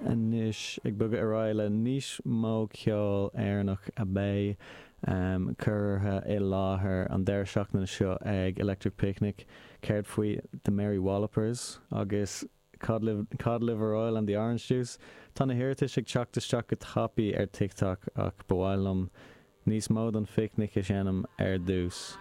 Anois ag bogadh ar aghaidh le níos mó ceol Éireannach a bheidh curtha i láthair an deireadh seachtaine seo ag Electric Picnic. Céard faoi The Mary Wallopers agus Cod Liver Oil and the Orange Juice? Tá na hiarratais ag teacht isteach go tapaidh ar TikTok ach ba mhaith liom níos mó don phicnic a sheinm ar dtús.